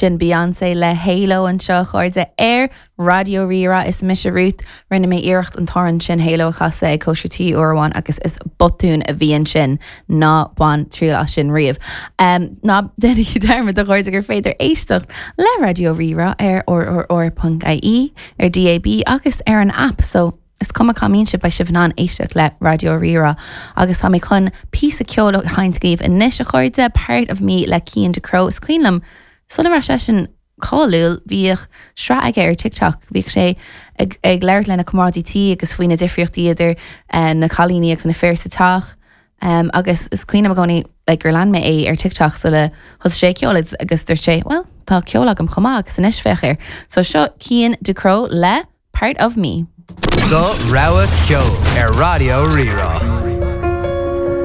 Sin Beyoncé le Halo anseo, a chairde, ar Raidió Rí-Rá. Is mise Ruth. Rinne mé iarracht an t-amhrán sin Halo a chasadh ag cóisir tí uair amháin agus is botún a bhí ansin. Ná bain triail as sin riamh. Ná déanaigí dearmad, a chairde, gur féidir éisteacht le Raidió Rí-Rá ar rrr.ie, ar DAB agus ar an aip. So. Is cuma cá mbíonn sibh, beidh sibh in ann éisteacht le Raidió Rí-Rá. Agus tá mé chun píosa ceoil a sheinnt daoibh anois, a chairde, Part of Me le Cian Ducrot. Is cuimhin liom, sula raibh seisean cáiliúil, bhíodh sraith aige ar TikTok. Bhíodh sé ag ag labhairt lena chomrádaí tí agus faoi na difríochtaí idir na cailíní agus na fir sa teach. Agus is cuimhin liom i gcónaí like gur lean mé é ar TikTok sula thosaigh sé ag ceol agus dúirt sé, well, tá ceol agam chomh maith agus anois féach air. So seo Cian Ducrot le. Part of Me. Do rogha ceoil ar Raidió Rí-Rá.